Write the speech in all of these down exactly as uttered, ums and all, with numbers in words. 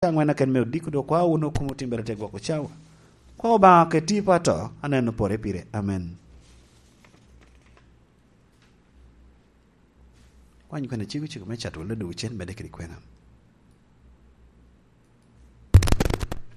aŋwen aken me odiko, dok kwa wunu kum otimbere te gwoko cawa. Kwa Obaŋa keti i pato, aneno pore pire. Amen. Kwany kwena cego cego me cato wele dogo cen medde kede kwena.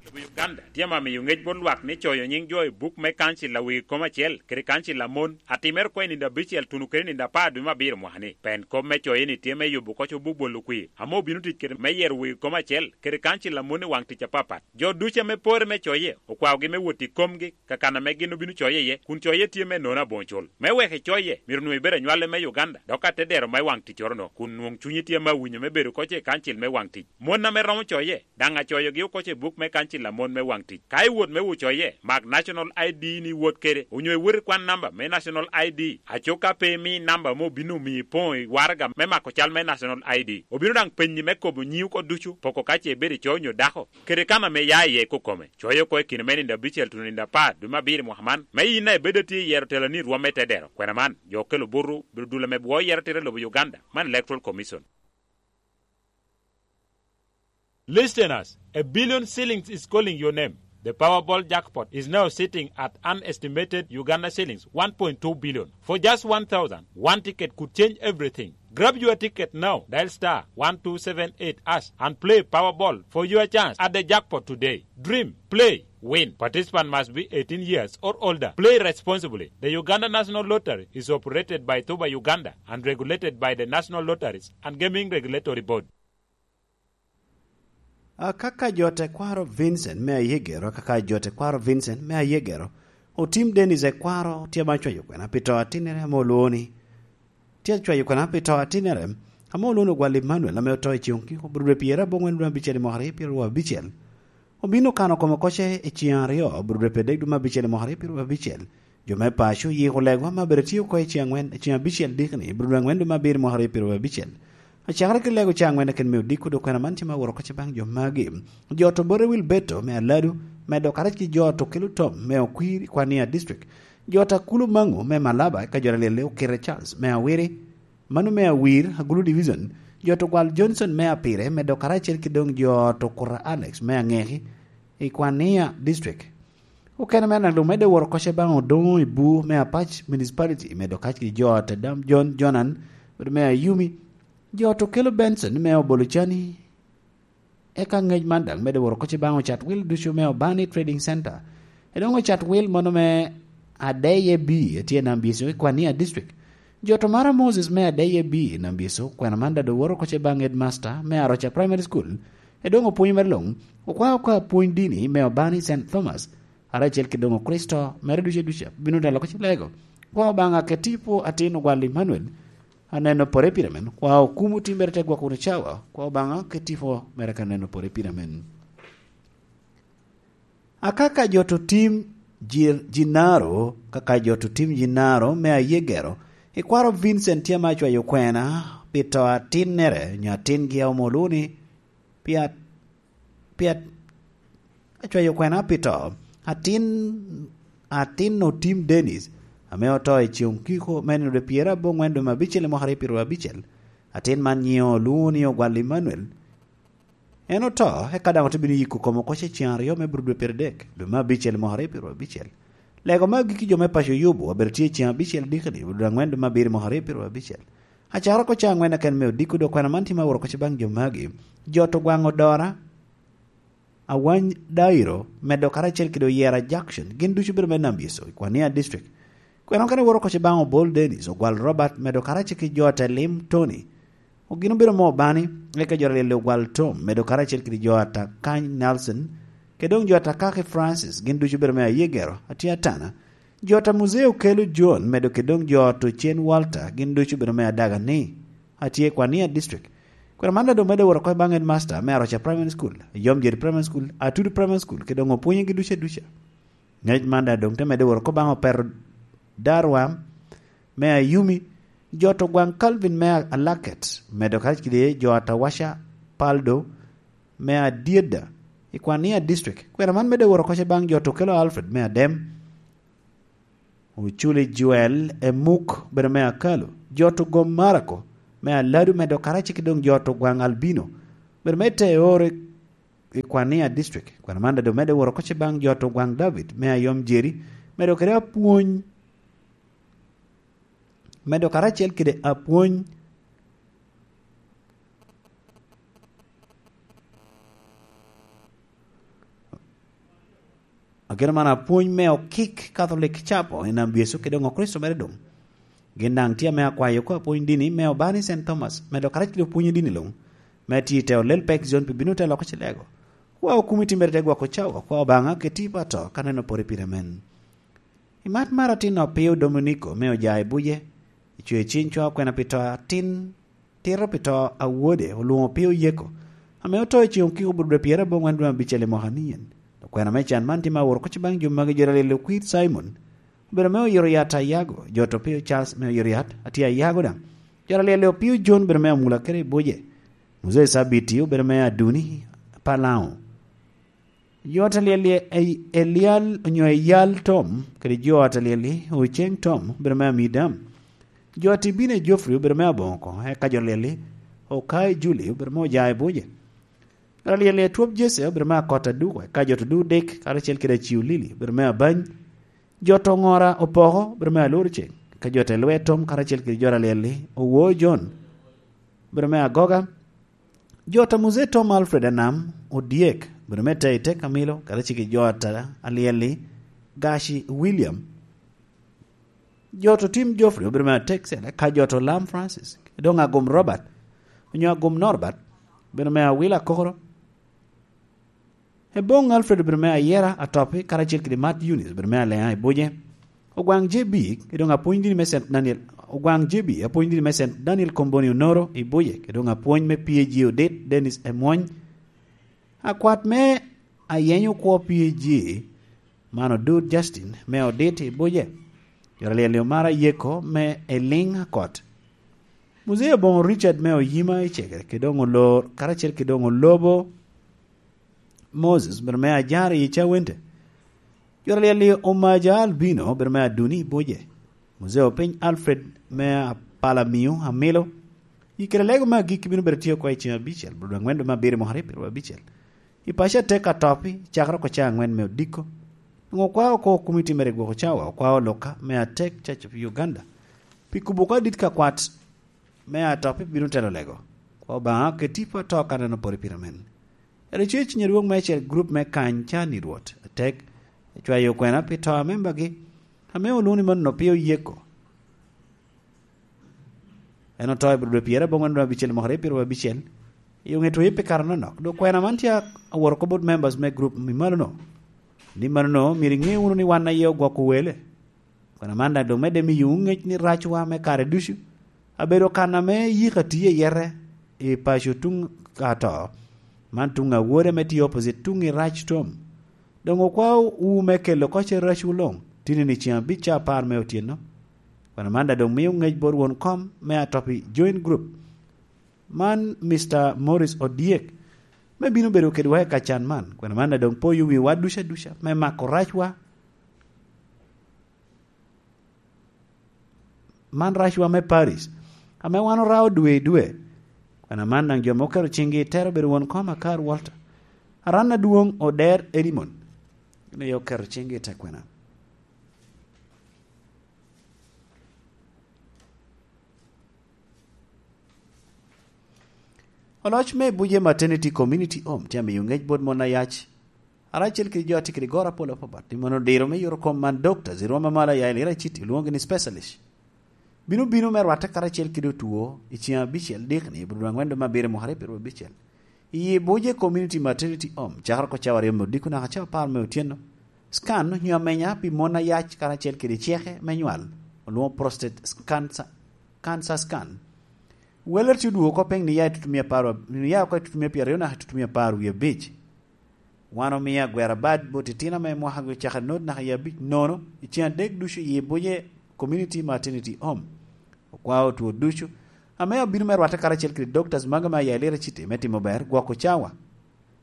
Lobo Uganda tye ame miyo ŋec bot lwak ni coyo nyiŋ jo i buk me kancil a wegi kom acel kede kancil a mon a timere oko i nino abicel tuno kede nino apar dwe me abiro mwaka-ni. Pen kop me coye-ni tye me yubo koc obuk bolo kwir ame obino tic kede me yero wegi kom acel kede kancil a mon i waŋ tic apapat. Jo ducu ame pore me coye okwaogi me wot i komgi ka kan ame gin obino coye iye, kun coye tye me nono aboŋo cul. Me wek icoye, myero onwoŋo ibed anywale me Uganda, dok atedero me waŋ ticcoro-no, kun nwoŋ cunyi tye ame awinyo me bedo koc i kancil me waŋ tic. Mon ame romo coye, daŋ acoyogi oko i buk me kancil a mon me waŋ tic. Ka iwot me wot coye, mak National I D ni iwot kede, onyo iwot ikwan namba me National I D. Aco ka pe imi namba ame obino omiyo ipoŋo i waraga me mako cal me National I D, obino daŋ penyi me kobo nyiŋi oko ducu, poko ka ce ibedo ico onyo dako, kede kan ame ia iye kokome. Coyo oko i kine me nino abicel tuno nino apar dwe me abiro i mwaka man, me yin a ibedo atye i yero teloni i rwom me tedero. Kwena man, jo okelo buto, bedo dul ame bwo yero tira i lobo Uganda, man Electoral Commission. Listeners, a billion shillings is calling your name. The Powerball jackpot is now sitting at an estimated Uganda shillings one point two billion. For just one thousand, one ticket could change everything. Grab your ticket now. Dial star one two seven eight hash and play Powerball for your chance at the jackpot today. Dream, play, win. Participant must be eighteen years or older. Play responsibly. The Uganda National Lottery is operated by Tuba Uganda and regulated by the National Lotteries and Gaming Regulatory Board. Akaka jo tekwaro Vincent me Ayegero, akaka jo tekwaro Vincent me Ayegero, otim Dennis ekwaro tye ma cwayo kwena pi to atinnere ame olwoŋo ni, tye cwayo kwena pi to atinnere ame olwoŋo ni Ogwal Emmanuel ame oto i ceŋ okiko, bro dwe pyerabongwen dwe abicel i mwaka aryo pyeraryo abicel. Obino kano kome koce i ceŋ aryo, bro dwe pyerdek dwe me abicel i mwaka aryo pyeraryo abicel. Jo me paco oyiko legwa me abedo tye oko i ceŋ angwen, i ceŋ abicel dikni, bro dwe angwen dwe me abiro i mwaka aryo pyeraryo abicel. Acakere ki lego ca angwen aken me odiko, dok kwena man tye ma woro koce baŋ jo magi. Jo to bote wil beto me aladu, medo karac ki jo to kelo tom me okwir i Kwania District. Jo to akulo maŋo me Malaba ka jo alyelle okete Charles me Awiri, mano me Awir, Agulu Division. Jo to gwal Johnson me Apire, medo karacel ki doŋ jo to Kura Alex me Aŋeki i Kwania District. Okene me Analu medde woro koce baŋ Odoŋo i Bur me Apac Municipality, medo kac ki jo te dam John Jonan, bedo me Ayumi, jo to kelo Benson me Obolocani. Eka ŋec man daŋ medde woro koce baŋ Ocat Wil ducu me Obani Trading Center. Edoŋ Ocat Wil mono me Adeye B etye i Nambyeco i Kwania District. Jo to mara Moses me Adeye B i Nambyeco, kwena man daŋ woro koce baŋ Headmaster me Aroca Primary School. Edoŋ opwony mere luŋ, okwao ka pwony dini me Obani Saint Thomas. Ara acel ki doŋ Kricito mere ducu aduca bino dalo ka cilego. Kwa Obaŋa keti i pwo atin Ogwal Emmanuel, aneno pore pire men. Kwa okumu timbere te gwoko wunu cawa. Kwa Obaŋa keti i pwo mere ka neno pore pire men. Akaka jo to tim ji-, jinaro, kaka jo to tim jinaro me Ayegero, ikwaro Vincent tye ma acwayo kwena pi to atinnere, nyo atingi a omoluni, pi at-, pi at-, acwayo kwena pi to. Atin, atin Otim Dennis, ame oto i ceŋ okiko me nino dwe pyerabongwen dwe me abicel i mwaka aryo pyeraryo abicel. Atin man nyiŋe olwoŋo ni Ogwal Emmanuel. En oto, eka daŋ ote bino yiko kome oko ce ceŋ aryo me bro dwe pyeraryo adek, dwe me abicel i mwaka aryo pyeraryo abicel. Lego me agikki jo me paco Yubu obedo tye i ceŋ abicel dikoni, bro dwe angwen dwe me abiro i mwaka aryo pyeraryo abicel. Acakere oko ca angwen aken me odiko, dok kwena man tye ma woro koce baŋ jo magi. Jo to gwaŋ Odora, Awany Dairo, medo karacel kede Oyera Jackson, gin ducu bedo me Nambyeco i Kwania District. Kwena okene woro koce baŋ Obol Dennis, Ogwal Robert, medo karacel ki jo ate lim Tony. Ogin obedo mo Obani, eka jo alyelle Ogwal Tom, medo karacel kede jo ata Kany Nelson, kede doŋ jo ata Kaki Francis, gin ducu bedo me Ayegero, atye atana. Jo ata Muzee Okelo John, medo kede doŋ jo ata Ocen Walter, gin ducu bedo me Adaga ni, atye i Kwania District. Kwena man daŋ doŋ medde woro oko baŋ Headmaster me Aroca Primary School, Yom Jeri Primary School, Atudu Primary School, kede doŋ opwonyogi ducu aduca. Ŋec man daŋ doŋ te medde woro oko baŋ Opero Darwa me Ayumi, jo to gwaŋ Calvin me Alaket, medo karac kede jo ata Waca Paldo me Adyeda i Kwania District. Kwena man medde woro koce baŋ jo to Okelo Alfred me Adem, Oculi Joel Emuk, bedo me Akalu, jo to Gom Marako me Aladu, medo karac ki doŋ jo to gwaŋ Albino, bedo me Teore i Kwania District. Kwena man daŋ doŋ medde woro oko ce baŋ jo to gwaŋ David me Ayom Jerry, medo kede apwony, medo karacel kede apwony. Ageno man apwony me okik Catholic Chapel i Nam Yecu kede oŋo Kricito mere doŋ. Gin daŋ tye ame akwayo oko apwony dini me Obani Saint Thomas, medo karacel kede opwony dini luŋ, me tye i te olel pek zone pi bino te loko cilego. Kwa okumi timere te gwoko cawa, kwa Obaŋa keti pa to ka neno pore pire men. I mat mar atin Opio Dominiko me oja i buce, i cwe ciny cwa kwena pi to atin, tito pi to a wode, olwoŋo Opio Yeko, ame oto i ceŋ okiko burubura pyera aboŋwen dwe abicel i mwaka ni en. Okwena me can man tye ma woro kocci baŋ jo magi jo alyel okwir Simon, obedo me oyito yat a yago, jo to Opio Charles me oyito yat, atye a yago daŋ. Jo alyel Opio John obedo me amula kede i buce. Muzee Sabiti obedo me aduni, Palaŋo. Jo ot alyel-li e-, Elial onyo Eyal Tom, kede jo ot alyel-li Oceng Tom, obedo me Amidam. Jo ot Ibine Geoffrey obedo me Aboŋo oko, eka jo alyel-li Okai Juli obedo me Oja i buce. Jo alyel-li Etwop Jesse obedo me Akot Aduko, eka jo ot Odudik, karacel kede Aciu Lili, obedo me Abany. Jo ot Oŋora Opoko obedo me Alur Ceng, eka jo ot Elwe Tom, karacel kede jo alyel-li Owo John, obedo me Agoga. Jo ot a Muzee Tom Alfred Anam Odyek, obedo me Tei Tek Amilo, karacel kede jo ot a alyel-li Gaci William. Jo ot Otim Geoffrey obedo me Atek Cel, eka jo ot Olam Francis, doŋ Agum Robert, onyo Agum Norbert, obedo me Awila Kokoro. Eboŋ Alfred obedo me Ayera Atopi, karacel kede Mat Eunice obedo me Aleŋa i buce. Ogwaŋ J B, kede doŋ apwony dini me Saint Daniel, Ogwaŋ J B, apwony dini me Saint Daniel Komboni Onoro i buce, kede doŋ apwony me P A G Odit Dennis Emwony. Akwat me Ayenyo Kwo P A G, man Odut Justin me Odit i buce. Jo alyel-li Omara Yeko me Eliŋ Akot. Muzee Aboŋo Richard me Oyima i Cegere, kede doŋ Olor, karacel kede doŋ Olobo Moses, obedo me Ajar i Cawente. Jo alyel-li Omaja Albino, obedo me Aduni i buce. Muzee Opiny Alfred me Apalamio Amilo. I kare lego me agikki bino bedo tye oko i ceng abicel, bro dwe angwen dwe me abiro mwaka aryo abicel. I paco atek Atopi, cakere oko caa angwen me odiko. Doŋ okwao oko komiti mere gwoko cawa, okwao Luka me Atek Church of Uganda. Pi kubo oko adit ka kwat me Atopi bino telo lego. Kwa Obaŋa keti pa to ka neno pore pire men. Ero cuyo ciny adwoŋ me acel grup me kany can i Rwot atek, cwayo okwena pi to a membagi, ame olwoŋo ni mano Opio Yeko. En oto i bro dwe pyera aboŋwen dwe abicel mwaka aryo pyera abicel, i oŋe tweyo pi kare anonok. Dok kwena man tye aworo oko bot members me grup i malono, ni manono myero iŋe wunu ni wan aye ogwoko wele. Kwena man daŋ doŋ medde miyowu ŋec ni racwa me kare ducu abedo kan ame yika tye i yete i paco tuŋ ato, man tuŋ awode ame tye opposite tuŋ i rac tom. Doŋ okwao wu me kelo oko ce racwu luŋ, tini ni ceŋ abic ca apar me otyeno. Kwena man daŋ doŋ mio ŋec bot won kom me Atopi Joint Group, man Mister Morris Odyek, me bino bedo kedwa i kacan man. Kwena man daŋ doŋ poyo wiwa duca duca me mako racwa. Man racwa me Paris, ame wan orao dwe i dwe. Kwena man daŋ jo ame oketo ciŋgi i tero obedo won kom Akar Walter, Aran Adwoŋ Oder Edimon, gin aye oketo ciŋgi i te kwena. Oloc me Buje Maternity Community Home tye amiyo ŋec bot mon ayac, karacel kede jo a tye kede goro apol apapat, ni mono diro me yuro kom man doctors i rwom amalo a Yailira City, olwoŋogi ni specialist, bino bino me rwatte karacel kede otwo i ceŋ abicel dikni i bur dwe angwen dwe me abiro mwaka aryo pyeraryo abicel. I Buje Community Maternity Home, cakere oko cawa aryo me odiko naka cawa apar me otyeno. Scan onyo amenya pi mon ayac karacel kede ceke me nywal, olwoŋo prostate cancer, cancer scan. Weller tye odwogo oko piny ni ya i tutumia apar, ni ya oko i tutumia pyeraryo naka i tutumia apar wie abic. Wan omio agwera bad bot itino ame mwakagi ocako anot naka i abic nono, i ceŋ adek ducu i Buje Community Maternity Home. Okwao otwo ducu, ame abino me rwatte karacel kede doctors magi me Yailira City me timo ber gwoko cawa.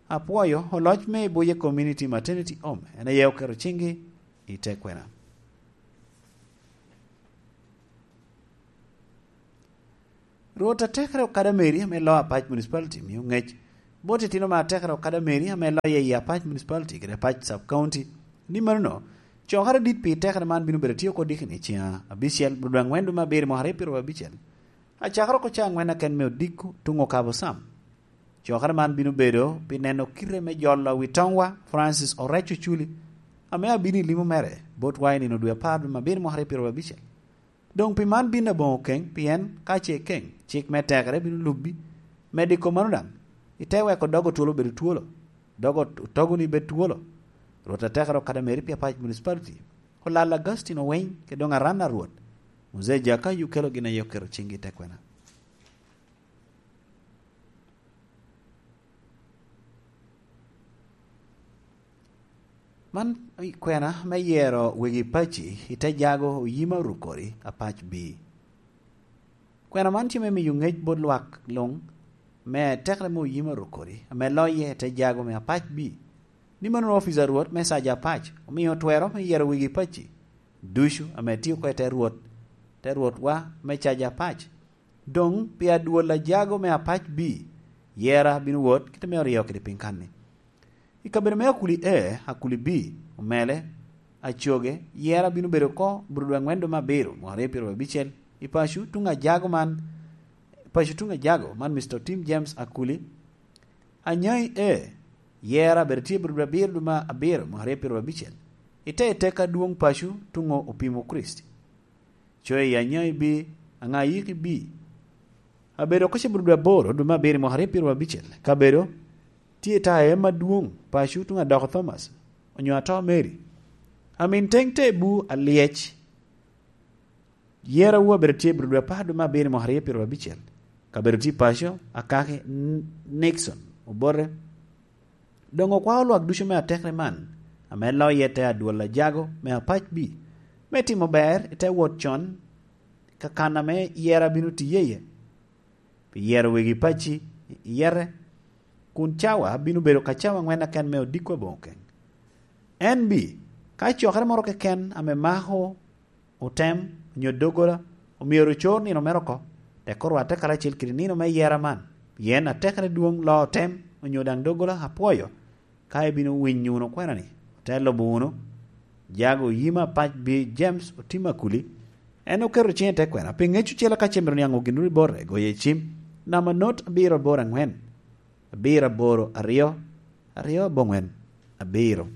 Apwoyo oloc me Buje Community Maternity Home, en aye oketo ciŋgi i te kwena. Rwot atekere okada Mary ame loo Apac Municipality mio ŋec bot itino me atekere Okada Mary ame loye i Apac Municipality kede Apac Sub County. Ni manono, cokere dit pi tekere man bino bedo tye oko dikini ciŋa abicel, bulu dwe aŋwen dwe me abiro mwaka aryo pyeru abicel. Acakere oko ca aŋwen aken me odiko tuŋ okabo sam. Cokere man bino bedo pi neno kite me jolo wi toŋwa Francis Orec Oculi, ame abino i limo mere botwa i nino dwe apar dwe me abiro mwaka aryo pyeru abicel. Doŋ pi man bino aboŋo keŋ, pien ka ce keŋ, cik me tekere bino lubbi. Medo i kom mano daŋ, ite weko dog otwolo bedo twolo, dog ot-, otogoni bed twolo. Rwot atekere Okada Mary pi Apac Municipality, Olal Augustine Oweny, kede doŋ aran a Rwot, Muzee Jakayu kelo gin a yok keto ciŋgi i te kwena. Man i kwena me yero wegi paci i te jago Oyima Rukori Apac B. Kwena man tye me miyo ŋec bot lwak luŋ me tekere me Oyima Rukori ame loye i te jago me Apac B. Ni mano ofica Rwot me caja Apac omio twero me yero wegi paci ducu ame tye oko i te Rwot, te Rwotwa me caja Apac. Doŋ pi adwol a jago me Apac B, yera bino wot kite me oryo kede piny kanni. I kabedo me Akuli A, Akuli B, Omele, Acoge, yera bino bedo oko buru dwe aŋwen dwe me abiro, mwaka aryo pyeru abicel, i paco tuŋ ajago man, paco tuŋ ajago man, Mister Tim James Akuli. Anyai A, yera bedo tye buru dwe abiro dwe me abiro, mwaka aryo pyeru abicel, i te i teka adwoŋ paco tuŋ Opimo Krist. Coyo i Anyai B, Aŋayiki B. Abedo oko ciburo dwe aboro, dwe me abiro i mwaka aryo pyeru abicel. Kabedo tye i taya em adwoŋ, paco tuŋ adoko Thomas, onyo ato Mary. Amin teŋ te bu alyec. Yera wu abedo tye buro dwe apar, dwe me abiro i mwaka aryo pyeru abicel. Kabedo tye paco, akaki N-, Nixon, Obote. Doŋ okwao lwak ducu me atekere man, ame loye te adwol ajago me Apac B, me timo ber i te wot con, ka kan ame yera bino tiye iye. Pi yero wegi paci i yete, kun cawa bino bedo ka cawa aŋwen aken me odiko aboŋo keŋ. N B, ka cokere moro keken ame mako otem, onyo doggola, omyero ocor nino mere oko, tek orwatte karacel kede nino me yera man, pien atekere dwoŋ loo otem, onyo daŋ doggola apwoyo. Ka ibino winyo wunu kwena-ni, ote lubo wunu, jago Oyima Apac B James Otim Akuli, en oketo ciŋe i te kwena, pi ŋec ocele ka ce myero niaŋ ogin wunu i bote, goye i cim, namba not abiro aboro aŋwen, abiro aboro aryo, aryo aboŋwen, abiro.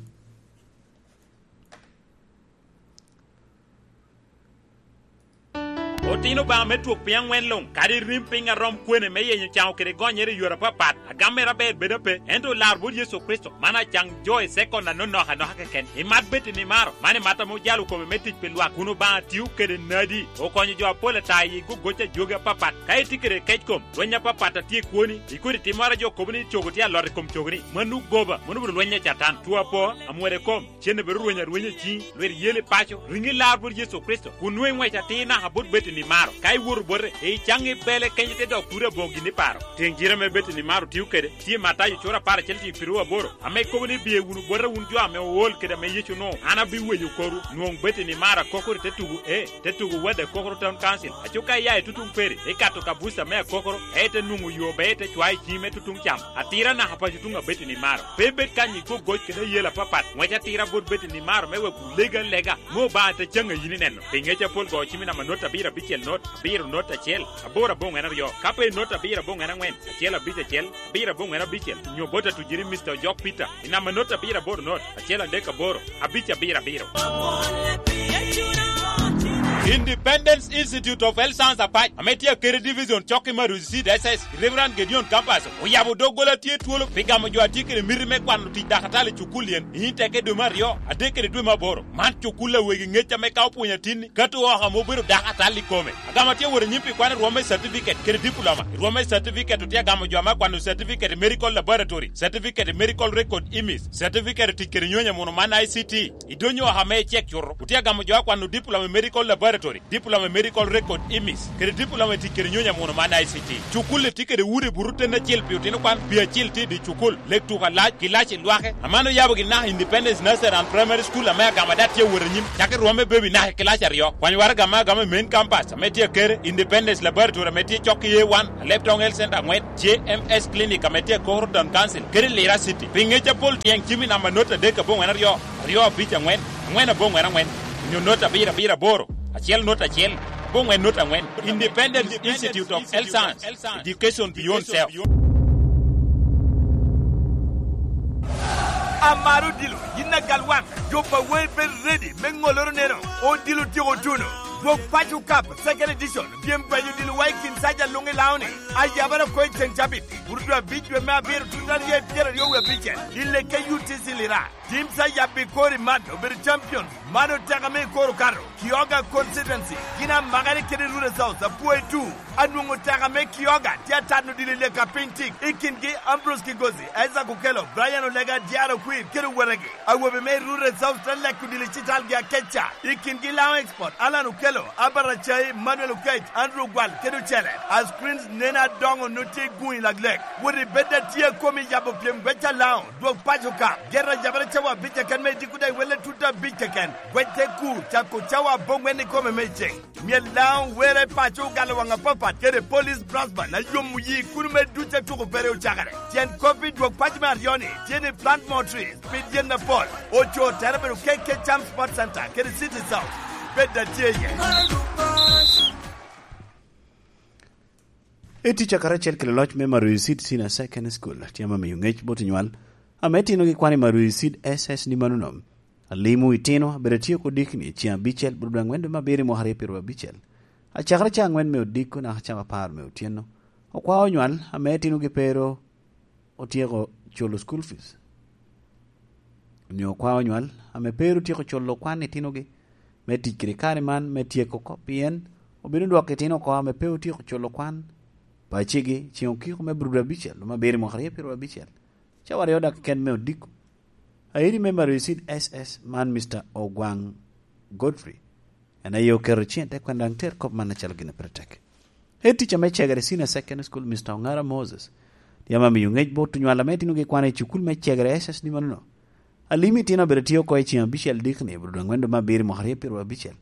Otino Obaŋa me twok piny aŋwen luŋ, kadi rim piny a rom kwene me yenyo caŋo kede gonyere i yore apapat, agammere aber bedo ape, ento olar bot Yecu Kricito, man acaŋ jo i sekon anonok anoka keken. Imat bed i nimaro, man imat ame ojalo kome me tic pi lwak, kun Obaŋa tio kede nadi, okonyo jo apol ata i gogoc a jogi apapat. Ka itye kede kec kom, lweny apapat a tye i kwoni, i kodi timmoro a jo kobo ni cogo tye alot i kom cogoni, mano goba, mano obedo lweny a Catan, two apo, amwero i kom, cen obedo rweny arwenya i ciŋi, lwit yel i paco, riŋi lar bot Yecu Kricito, kun nwoŋo iŋwec atir naka bot Betani maro. Ka iwoto bote, icaŋ i bele kenyo te dok kuri aboŋo gin i paro. Tiŋ jire ame Betani maro tio kede, tye i Matayo cura apar acel tiŋ piru aboro, ame kobo ni, "Biye wunu bota wun jo ame ool kede ame Yecu onwoŋo, an abiweyo korwu." Nwoŋ Betani maro akokoro i te tugo, e, te tugo Wadde Kokoro Town Council. Aco ka ia i tutuŋ peri, ikato ka buca me akokoro, e ite nwoŋo yo ber ite cwayo i ciŋi me tutuŋ cam. Atira naka paco tuŋ a Betani maro. Pe ibed kany i gogoc kede ayel apapat. Ŋwec atira bot Betani maro me wek wulega alega, me Obaŋa te caŋ a yin ineno. Pi ŋec apol go cim i namba not abiro abicel not, abiro not acel, aboro aboŋwen aryo. Ka pe i not abiro aboŋwen aŋwen, acel abic acel, abiro aboŋwen abicel, nyo bot atujiri Mister Ojok Peter, i namba not abiro aboro not, acel adek aboro, abic abiro abiro. Independence Institute of Health Science Apac, ame tye Akere Division, cok i Marusi Seed S S, Reverend Gedeon Kampaso, oyabo doggola tye twolo pi gamo jo a tye kede miti me kwano tic dakatali i cukul yen, i Inteke dwe me aryo, adek kede dwe me aboro. Man cukul a wegi ŋec ame ka opwonyo atinni, kato oko ame obedo dakatali i kome. Agamo atye wot anyim pi kwano rwom me certificate kede diploma. I rwom me certificate otye agamo jo ame akwano certificate i medical laboratory, certificate i medical record image, certificate i tic kede nyonyo muno man I C T. I donyo oko ame icek cuto, otye agamo jo akwano diploma i medical laboratory. Laboratory, Diploma in Medical Record Image, kede Diploma i tic kede nyonyo amuno man I C T. Cukul-li tye kede udi buto ten acel pi otino kwan, pi acel tye i dye cukul, lek tuko alac, kilaci lwake. Aman oyabogi naka Independence Nursery and Primary School ame agama daŋ tye awot anyim, cakki rwom me baby naka i kilaci aryo. Kwany waraga me agama i main campus ame tye akere, Independence Laboratory ame tye cok i A one, Aleptong Health Center angwen, J M S Clinic ame tye i Koro Town Council, kede Lira City. Pi ngec apol tyeng cim i namba not adek aboŋwen aryo, aryo abic angwen, angwen aboŋwen angwen, onyo not abiro abiro aboro, acel not acel, aboŋwen not angwen. Independent Institute of Health Science, Education Beyond Self. Amaro odilo, yin agal wan, jo pa wei bed ready me ŋoloro neno, odilo tyeko tuno. Dwog Paco Cup Second Edition, pyem paco odilo wa i kin saja luŋ i Laoni, ayabara ko i ceng cabit, burudu abic dwe me abiro tut aryo i pyeraryo wie abicel, i leke U T C Lira. Tim sa yabbi kori man obedo champions, man oteka me i kor okato, Kioga Constituency, gin amakere kede Rural South, apwoyo tu. Anwoŋo teka me Kioga tye atano dilo i leka piny tik, i kingi Ambrose Kigozi, Isaac Okello, Brian Olega, Diaro Kwir, kede owetegi. Awobe me Rural South te leko dilo i citalgi akeca, i kingi Lao Export, Alan Okello, Albert Acai, Manuel Okech, Andrew Gwal, kede ocele. A screens nen adoŋo nut tye i guŋ i laglek. Wot i bed atye a komi yabo pyem gweca Lao. Dwog Paco ka, ger a yabere cawa abic keken me idiko daŋ iwelle tut abic keken. Gwec te kur, cako cawa aboŋwen ikome me iceng. Myel Lao were paco ogalo waŋ apapat kede Police Brass Band a yomo yi kuno me duc a tuko pere ocakere. Tyen kop i dwog paco me aryo-ni tye ni plant more trees, pid yen apol. Oco tere bedo K K Cham Sports Center kede City South. Bed atye iye. Etica karacel kede loc me Maruyi Seed Senior Secondary School tye ame miyo ŋec bot onywal ame itinogi kwan i Maruyi Seed S S ni manono. Alimo itino abedo atye oko dikni i ceng abicel bot dwe angwen dwe me abiro i mwaka aryo pyeraryo abicel. Acakere ca angwen me odiko naka cawa apar me otyeno. Okwao onywal ame itinogi pe ru otyeko culo school fees, onyo okwao onywal ame pe ru otyeko culo kwan itinogi me tic kede kare man me tyeko oko, pien obino dwoko itino oko ame pe otyeko culo kwan pacigi ceng okiko me bur dwe abicel dwe me abiro i mwaka aryo pyeraryo abicel. Cawa aryo dak keken me odiko. Airi me Maruyi Seed S S man Mister Ogwang Godfrey, en aye oketo cen te kwena daŋ ter kop man acalo gin a pire tek. Head teacher me Cegere Senior Secondary School, Mister Ongara Moses, yam amiyo ŋec bot onywal ame itinogi kwan i cukul me Cegere S S ni manono. Alimo itino abedo tye oko i ceng abicel dikni, bro dwe angwen dwe me abiro i mwaka aryo pyeraryo abicel.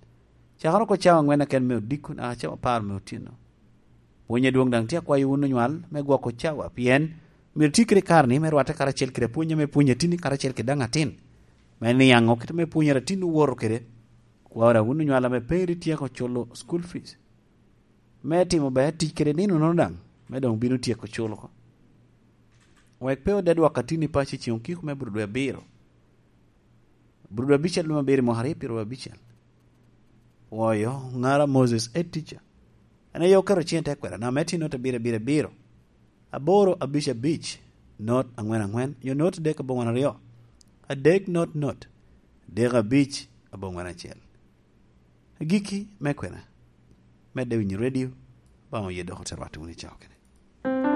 Cakere oko cawa angwen keken me odiko naka cawa apar me otyeno. Pwony adwoŋ daŋ tye akwayo wun onywal me gwoko cawa, pien myero itye kede kare-ni me rwatte karacel kede apwony ame pwonyo atinni karacel kede daŋ atin, me niaŋ kit ame pwonyere atin owoto kede. Kwao daŋ wun onywal ame pe ri tyeko culo school fees, me timo ber tic kede nino-nono daŋ, me doŋ bino tyeko culo oko. Wek pe ode dwok atinni paco i ceng okiko me bur dwe abiro. Bur dwe abicel dwe me abiro i mwaka aryo pyeraryo abicel. Oyo, Ongara Moses, head teacher, en aye oketo cen i te kwena, namba me tye not abiro abiro abiro, aboro abic abic, not angwen angwen, onyo not adek aboŋwen aryo, adek not not, adek abic aboŋwen acel. Agikki me kwena, medde winyo redio, Obaŋa oye dok ote rwatte wunu i cawa kene.